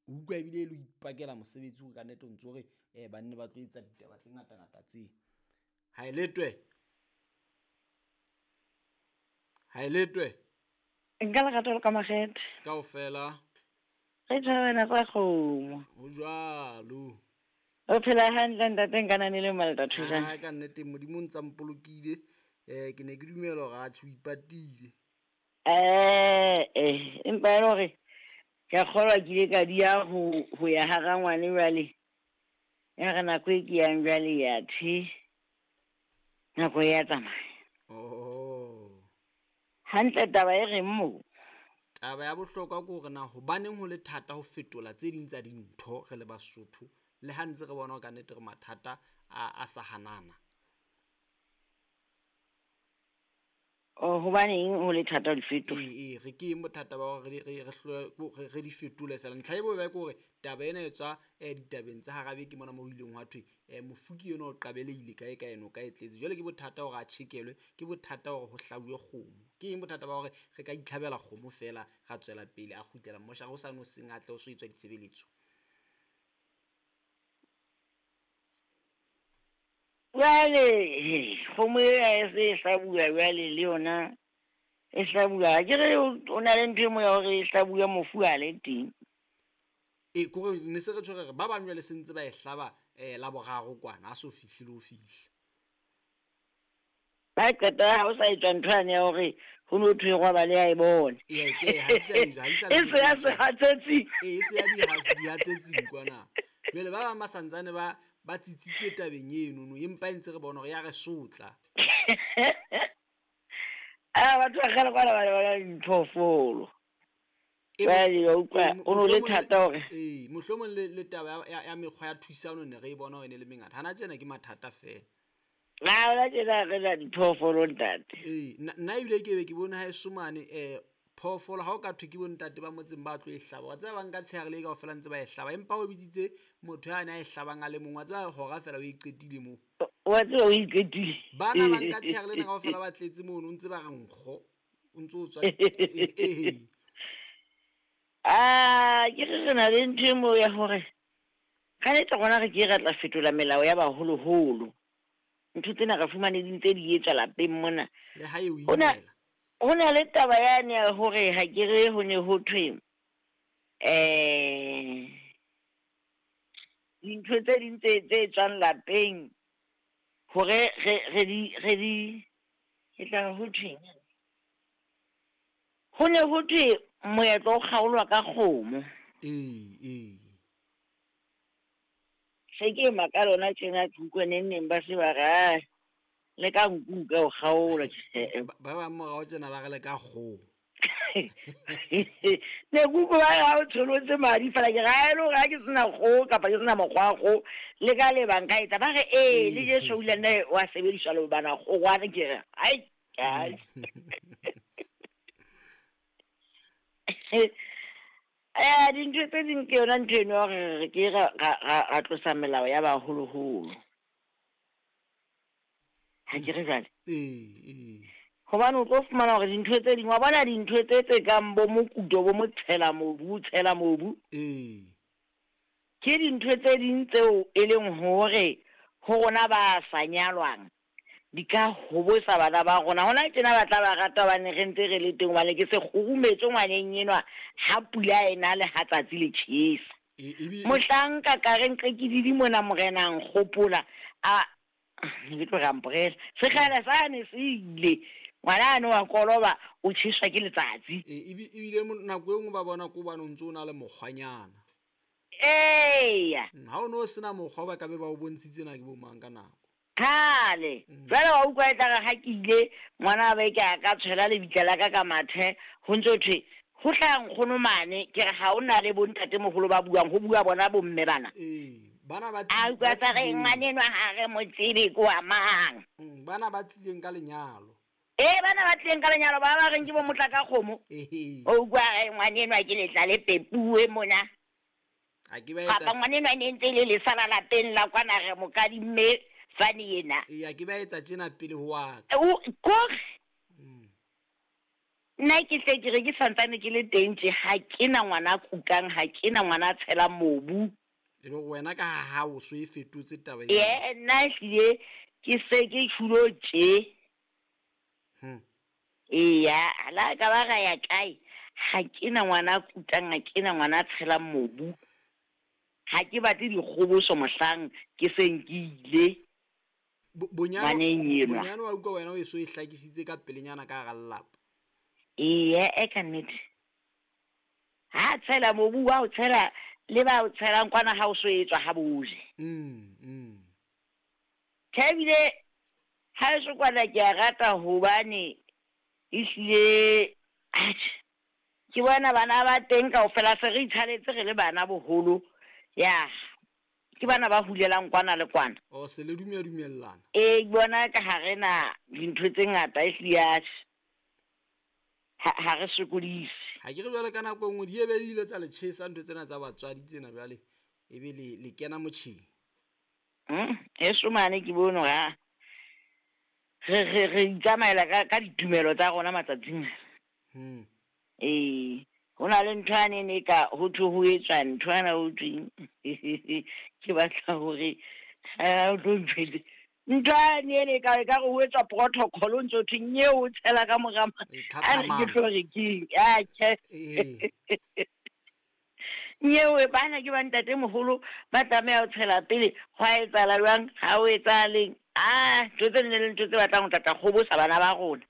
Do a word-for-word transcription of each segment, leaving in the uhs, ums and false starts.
O utlwa ebile e le ho ipakela mosebetsi hore ka nnete o ntso re um banne ba tlo etsa ditaba tse ngatangata tse. Ha e letwe. Ha e letwe. Nka lerato le ka makgethe. Kaofela. Re thabela tsa kgomo. Ho jwalo. O phela hantle ntate nka le malta thusang. Ha ka nnete Modimo o ntsa mpolokile. Eh ke ne ke dumela hore a tjho ipatile. Eh eh empa e le hore ke a kgolwa ke ile ka dia ho ho ya hara ngwane jwale. Ya re nako e ke yang jwale ya the. Nako ya tsamaya. Oh. Hantle taba e reng mo? Taba ya bohlokwa ke hore na hobaneng ho le thata ho fetola tse ding tsa dintho re le Basotho le ha ntse re bona ka nnete re mathata a a sa hanana. Oh, hobaneng ho le thata ho di fetola? Ee, re ke eng bothata ba hore re re re re di fetole fela. Ntlha e bobe ke hore taba ena e tswa ditabeng tsa hara beke mona moo ho ileng hwa thwe mofuki enwa o qabelehile kae kae eno ka e tletse. Jwale ke bothata hore a tjhekelwe, ke bothata hore ho hlabuwe kgomo. Ke eng bothata ba hore re ka itlhabela kgomo fela ra tswela pele a kgutlela moshara o sane o seng a tle o so etswa ditshebeletso? Jwale kgomo e e se e hlabuwa jwale le yona e hlabuwa. Ke re o na le ntho e mo ya hore e hlabuwa mofu a le teng. E kore ne se re tjho re ba bang jwale se ntse ba e hlaba eh la boraro kwana a so fihlile ho fihla. Ba qeta ha o sa etswa ntho yane ya hore ho no thwe roba le ya e bone. Ee ke ha se ha se e se ya sehatsetsi. Ee se ya di ha di hatsetsing kwana. Jwale ba bang ba santsane ba ba tsitsitse tabeng eno no empa ntse re bona hore ya re sotla. Ah batho ba kgale kwana ba ba diphoofolo. Jwale wa utlwa o no le thata hore ee mohlomong le le taba ya ya mekgwa ya thusano ne re e bona hore ne le mengata. Hana tjena ke mathata fela. Na hona tjena re na diphoofolo ntate. Ee nna ebile ke be ke bone ha e somane eh phoofolo ha o ka thwe ke bo ntate ba motseng ba tlo e hlaba. Wa tseba ba nka tsheare le kaofela ntse ba e hlaba empa o bitsitse motho ya na e hlabang a le mong wa tseba hora fela o e qetile moo. Wa tseba o e qetile. Bana ba nka tsheare lena kaofela ba tletse mono o ntse ba re nkgo o ntse o tswa ee. Ah ke re re na le ntho e mo ya hore ka nnete rona re ke re tla fetola melao ya baholoholo. Ntho tsena re fumane di ntse di etswa lapeng mona. Le ha e o imela. Ho na le taba yane ya hore ha ke re ho ne ho thwe eh dintho tse ding tse tse tswang lapeng hore re re di re di ke tla ho thwe ho ne ho thwe moetlo o kgaolwa ka kgomo. Ee ee se ke maka lona tjena ke utlwe neng neng ba se ba re le ka nku ka o kgaola. Ba bang morao tjena ba re le ka kgomo. Ne kuku ba ha o tsholotse madi fela ke ra e le hore ha ke sena kgoho kapa ke sena mokgwa wa kgoho le ka le bang ka etsa ba re ee le Jesu o ile nne wa sebediswa le bana kgogwana ke re ai ai. Eh dintho tse ding ke yona ntho eno ya hore re ke ra ra tlosa melao ya baholoholo. Ha ke re jwale? Ee ee. Hobane o tlo fumana hore dintho tse ding wa bona dintho tse tse kang bo mokuto bo motshela mobu tshela mobu. Ee. Ke dintho tse ding tseo e leng hore ho rona ba sa nyalwang di ka hobosa bana ba rona. Hona tjena ba tla ba rata hobane re ntse re le teng hobane ke se kgurumetse ngwaneng enwa ha pula ena le ha tsatsi le tjhesa. Mohlanka ka re nqe ke didi mona morena nkgopola a ke tlo re amporela sekgala sane se ile ngwana ano wa koloba o tjheswa ke letsatsi. E ebile nako e nngwe ba bona ko bana o ntse o na le mokgwanyana. Eya. Ha o no sena mokgwa ba ka be ba o bontshitse na ke bo mang ka nako. Kgale jwale wa utlwa e tla re ha ke ile ngwana ba ke a ka tshwela lebitla la ka ka mathe ho ntso thwe ho tla nkgono mane ke re ha o na le bo ntatemoholo ba buang ho bua bona bo mme bana. Ee bana ba a utlwa tsa re ngwanenwa ha re mo tsebe ko wa mang. Bana ba tlileng ka lenyalo. Ee bana ba tlileng ka lenyalo ba ba reng ke bo motla ka kgomo. O utlwa re ngwanenwa ke letla le pepuwe mona. A ke ba etsa kapa ngwanenwa ne ntse le lesala lapeng la kwana re mokadimme fane yena. Ee a ke ba etsa tjena pele ho wa ka. O kore. Mm. Nna ke hle ke re ke santsane ke le teng tje, ha ke na ngwana a kukang, ha ke na ngwana a tshelang mobu. E le hore wena ka ha hao so e fetotse taba eo. Ee, nna ehlile ke se ke tjhulo tje. Hmm. Eya, le ha ka ba ra ya kae, ha ke na ngwana a kutang, ha ke na ngwana a tshelang mobu. Ha ke batle dikgoboso mohlang ke seng ke ile. Bo- Bonyane Ngwaneng enwa. bonyane wa utlwa wena o e so e hlakisitse ka pelenyana ka hara lelapa. Eya, e ka nnete. Ha tshela mobu wa o tshela le ba o tshelang kwana ha o so etswa ha boje. Mm, mm. Tjhe, ebile ha eso kwana ke a rata hobane ehlile atjhe ke bona bana ba teng kaofela se re itshalletse re le bana boholo. Ya, ke bana ba hulelang kwana le kwana. O se le dumela dumellana. Ee, ke bona ka ha re na dintho tse ngata ehlile atjhe. Ha ha re sokodise. Ha ke re jwale ka nako e nngwe di ebe di ile tsa le tjhesa ntho tsena tsa batswadi tsena jwale ebe le le kena motjheng. Mm, heso mane ke bone hore ha re re re itsamaela ka ka ditumelo tsa rona matsatsing a. Hmm. Ee, ho na le ntho yane ne ka ho thwe ho etswa ntho ena ho thweng ke batla hore ha o tlo ntjwetse. Ntho yane ene e ka ekare ho etswa protocol o ntso thwe nyeo o tshela ka mora ma- E a re ke tlhatlhamano. tlo re keng atjhe. Ee. Nyewe bana ke ba ntatemoholo ba tlameha ho tshela pele ho a etsahala jwang, ha ho etsahaleng. Ah, ntho tse nne le ntho tse batlang ho tlatla kgobosa bana ba rona.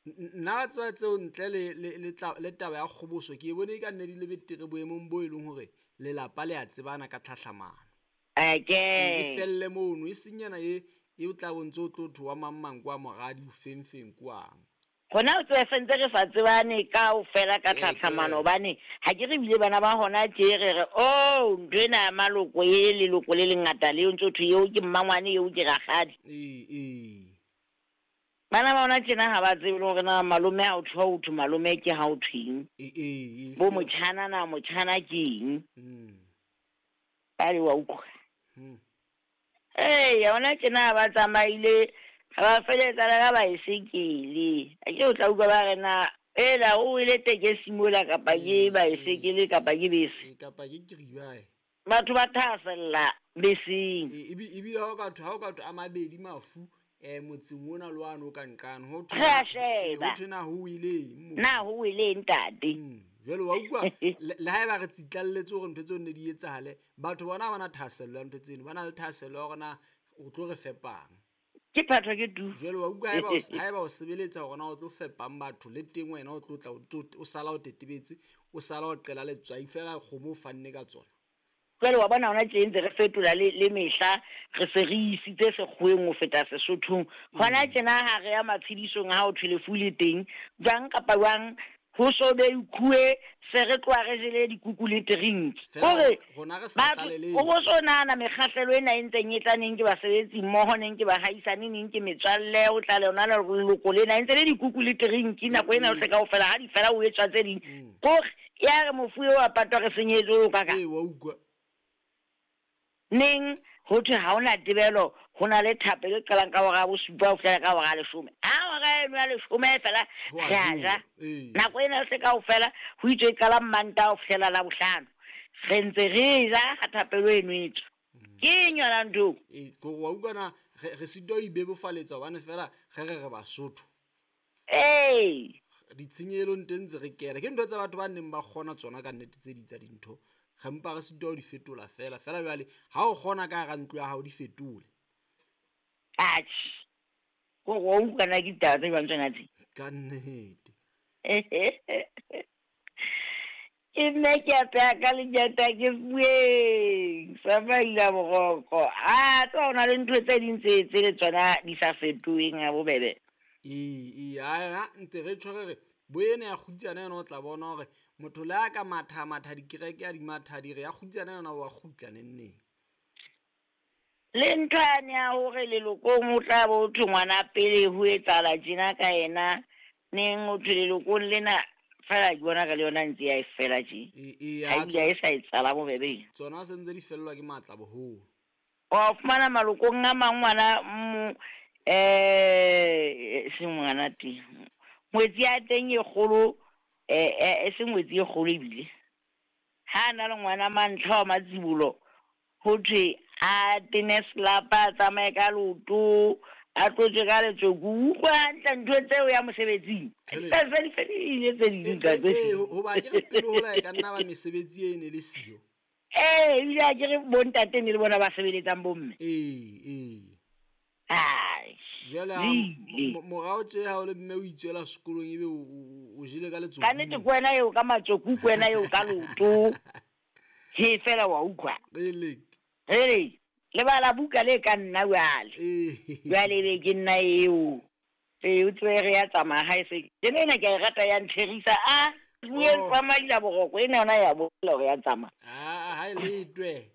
Nna wa tseba tseo ntle le le le tla le taba ya kgoboso ke e bone e ka nne di le betere boemong bo e leng hore lelapa le a tsebana ka tlhahlamano. E Ake. felle mono e seng ena e e o tla bo ntso o tlo thwe wa mang mang kwa moradi o feng feng kwang. Hona o tsebe sentse re sa tsebane kaofela ka Ee, tlhatlhamano ke. hobane ha ke re ebile bana ba hona tje re re oh ntho ena ya maloko e leloko le lengata leo ntso thwe eo ke mmangwane eo ke rakgadi. Ee, ee. Bana ba hona tjena ha ba tsebe le hore na malome ha o thwe ho thwe malome ke ha o thweng. Ee, ee, Bo e motjhana na motjhana ke eng. Mm. Jwale wa utlwa. Hmm. Eya hona tjena ha ba tsamaile ha ba feletsa le ka baesekele. Akere o tla utlwa ba re na ela o wele tekesi mola kapa ke Mm, baesekele kapa ke bese. E kapa ke kiribae. Batho ba thahasella beseng. E ebi ebile ha o ka thwe ha o ka thwe a mabedi mafu eh motseng ona le wane o ka nqane ho thwe Re a eh, ho sheba. thwe na ho weleng moo. Na ho weleng ntate? Mm. Jwale wa utlwa le le haeba re tsitlalletse hore ntho tseo ne di etsahale, batho bona ha ba na thahasello ya ntho tseno, ba na le thahasello ya hore na o tlo re fepang. Ke phatho ke tu. Jwale wa utlwa haeba o s- haeba o sebeletsa hore na o tlo fepang batho le teng wena o tlo tla o tlo o sala o tetebetse, o sala o qela letswai feela kgomo o fanne ka tsona. Jwale wa bona hona tje ntse re fetola le le mehla re se re isitse sekgoweng ho feta Sesothong. Hona Ee. tjena ha re ya matshedisong ha ho thwe lefu le teng, jwang kapa jwang ho so be ikhuwe se re tloha re jele dikuku le drink. Feela Hore rona re sa batho tlaleleng. o bo so nahana mekgahlelo ena e ntseng e tla neng ke basebetsi mmoho, neng ke bahaisane, neng ke metswalle, o tla le yona leloko lena e ntse le dikuku le drink nako ena yohle kaofela ha di fela o etswa tse ding. Mm. Kore ya re mofu eo a patwa re senyehetswe o ka ka. Ee, wa utlwa. Neng ho thwe ha hona tebelo, ho na le thapelo e qalang ka hora ya bosupa ho fihlela ka hora ya leshome. Ha hora eno ya leshome fela Ho a re a jowa. ja. Ee. Nako ena yohle kaofela ho itswe e qala Mantaha ho fihlela Labohlano. Re ntse re ja ha thapelo eno e tswa. Ke eng yona ntho eo? Ee, ke hore wa utlwa na re re sitwa ho ibebofaletsa hobane feela re re re Basotho. Ee. Ditshenyehelong teng ntse re kena. Ke ntho tsa batho ba neng ba kgona tsona ka nnete tse ding tsa dintho. Re mpa re sitwa ho di fetola feela. Feela jwale ha o kgona ka hara ntlo ya hao di fetole. Atjhe. Kore wa utlwa na ke ditaba tse jwang tsona tse? Ka nnete. Ke nna ke a pheha ka lenyata ke bueng sa maila boroko. Ah, tseba ho na le ntho tse ding tse tse le tsona di sa fetoheng ha bobebe. Ee, ee, ha ntse re tjho re re bo ena ya kgutsana yona o tla bona hore motho le ha ka matha matha dikereke a di matha di re ya kgutsana yona wa kgutla neng neng. Le ntho yane ya hore lelokong ho tla bo thwe ngwana pele ho etsahala tjena ka yena, neng ho thwe lelokong lena feela ke bona ka le yona ntse ya e fela tje. Ee, ee, Ha ha ebile ha e sa etsahala bobebe. tsona se ntse di fellwa ke matla boholo. Wa fumana malokong a mang ngwana mo eh seng ngwana teng. Ngwetsi ya teng e kgolo eh eh, e se ngwetsi e kgolo ebile. Ha na le ngwana mantlha wa matsibolo ho thwe a tene selapa, a tsamaye ka leoto, a tlotse ka letsoku. Utlwa hantle ntho tseo ya mosebetsing. Hele. Tse se di fedile tse ding ka tse. Ee, hoba ke re pele hola e ka nna ba mesebetsi e ne le siyo. Ee, ebile ha ke re bontate ne le bona ba sebeletsang bomme. Ee, ee. Ai. Jwale ha Le ile. mo- morao tje ha o le mme o itswela sekolong ebe o o- o jele ka letsoku. Ka nnete ke wena eo ka matsoku, ke wena eo ka leoto. He fela wa utlwa. Ele. Hele, lebala buka le ka nna jwale. Ee. Jwale ebe ke nna eo. Ee, o tsebe re ya tsamaya ha e se. Tjena ena ke a e rata ya ntherisa. Ah, bue Oh. tsa madila boroko ena yona ya bolela hore ya tsamaya. Ah, ha e letwe.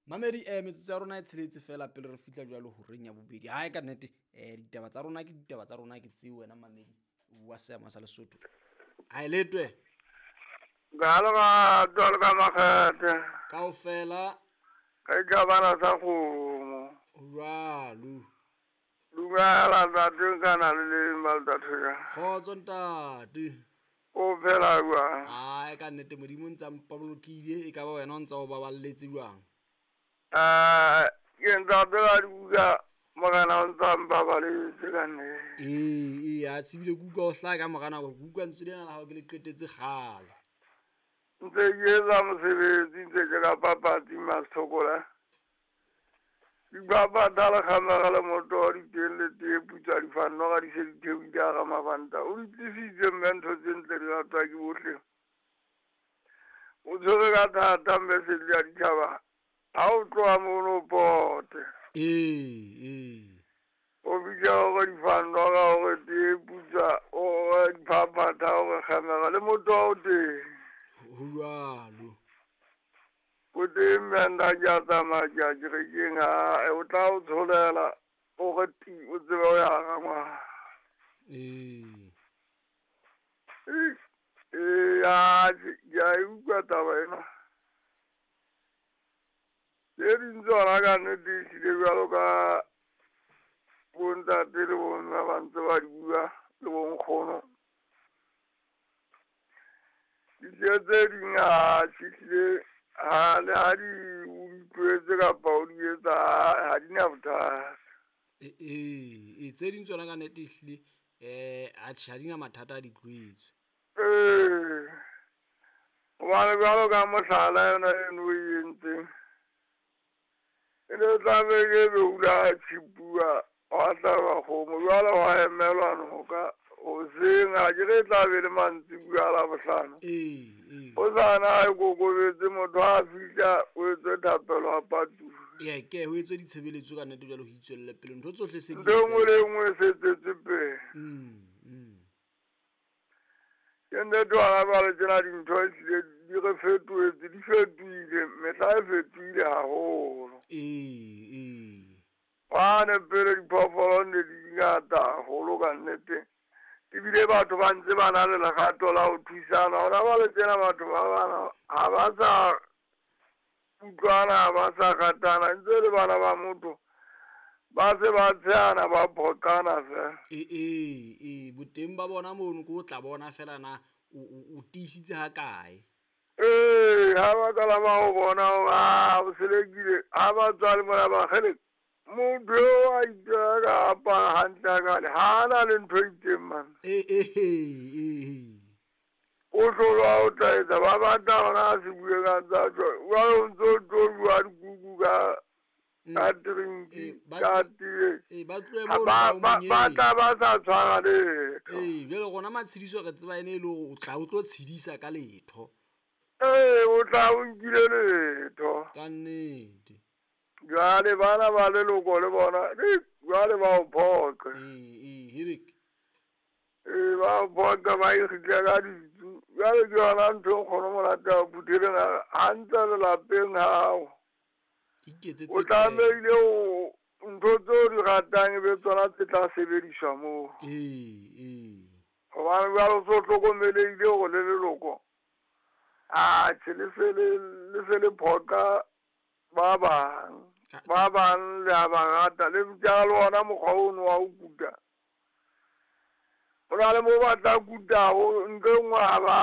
Mamedi eh metsotso ya rona e tsheletse fela pele re fihla jwalo horeng ya bobedi. Hae ka nnete eh ditaba tsa rona ke ditaba tsa rona ke tseo wena mamedi wa seama sa Lesotho. Ha e letwe Ka lerato le ka makgethe, kaofela ka ikabana sa kgomo. ho jwalo. Dumela ntate nka na le leng ba letatho ja. Kgotso ntate. O phela jwang? Hae ka nnete Modimo o ntsa mpabolokile e ka ba wena o ntsa o baballetse jwang. Eh, ke ntate ka dibuka morena o ntsa mpabaletse ka nnete. Ee, ee, a tsebile ke utlwa o hlaha ka mora nako, ke utlwa lentswe lena la hao ke le qetetse kgale. Ntse ke etsa mosebetsi, ntse ke ka papatsi Masithokola. Dipapatha le kgamega le motoho di teng le tee putswa difanno ga di se di theohile hara mabanta. O di tlisitse mme ntho tse ntle di ratwa ke bohle. O tshwere ka thata mme sedi ya ditjhaba. Ha o tloha mono o pote. Ee, ee. O bitsa hore difanno ga hore tee putswa, hore diphaphatha, hore kgamega le motoho o teng. Ho jwalo. O teng mme nna ke a tsamaya ke ya kerekeng, ha o tla o tsholela o re ti o tsebe ho ya hara ngwana. Ee. Ee, ee, atjhe, ke a e utlwa taba ena. Tse ding tsona ka nnete ehlile jwalo ka bontate le bomme ba ntse ba di bua le bonkgono. Dijo tse ding atjhe ehlile ha le ha di o di tlwaetse kapa o di etsa ha di na bothata. Ee, ee, ee, tse ding tsona ka nnete ehlile eh atjhe ha di na mathata a di tlwaetswe. Ee, hobane jwalo ka mohlala yona eno o e entseng, e ne tlabe ke be hula tjhipuwa hwa hlaba kgomo, jwale hwa emelwa noka hoseng ha ke re e tla be le mantsibuya a Labohlano. Ee, ee. Hosane ha e kokobetse motho ha fihla o etswe thapelo a patuwe. Ee, ke ho etswe ditshebeletso ka nnete jwale ho itswelle pele ntho tsohle se di Ntho e nngwe le e nngwe e se tswetse pele. Mm, mm. Ke nnete hona jwale tjena dintho ehlile di re fetohetse, di fetohile, mehla e fetohile haholo. Ee, ee. Hwane pele diphoofolo ne di di ngata haholo ka nnete. Ebile batho ba ntse ba na le lerato la ho thusana. Hona jwale tjena batho ba bana ha ba sa utlwana, ha ba sa ratana, ntse le bana ba motho ba se ba tshehana, ba phoqana fela. Ee, ee, ee, boteng ba bona mono ke o tla bona fela na o o o tiisitse ha kae. Ee, ha ba qala ba o bona hore ah, o selekile, ha ba tswa le mona ba kgele, motho eo a iteka ka apara hantle hakale, ha ana le ntho e itseng mane. Ee, ee, ee. O hlolwa o tla etsa, ba batla hona a se bue ka tsa tjho. Jwale o ntso tlo bua dikuku ka Mm. ka drinki, Ee, ba ka tlo- tee. Ee, ba tlohe Ha mono ba ba o ba ba monyeng. tla ba sa tshwara letho. Ee, jwale rona matshediso re tseba ene e le hore o tla o tlo tshedisa ka letho. Ee, o tla o nkile letho. Ka nnete. Jwale bana ba leloko le bona, eh, jwale ba o phoqe. Ee, ee, herek. Ee, ba o phoqa ba ikgitle ka ditsu. Jwale ke yona ntho e nkgono monate ya phutheleng a re, hantle lelapeng hao. Iketsetse O tlamehile o ntho tseo di ratang e be tsona tse tla sebediswa moo. Ee, ee. Hobane jwale o so hlokomelehile hore le leloko, atjhe le se le, le se le phoqa ba bang. Ka- Ba bang le a ba rata le tjala le ona mokgwa ono wa ho kuta. Ho na le moo ba tla kutago ntho e nngwe ha ba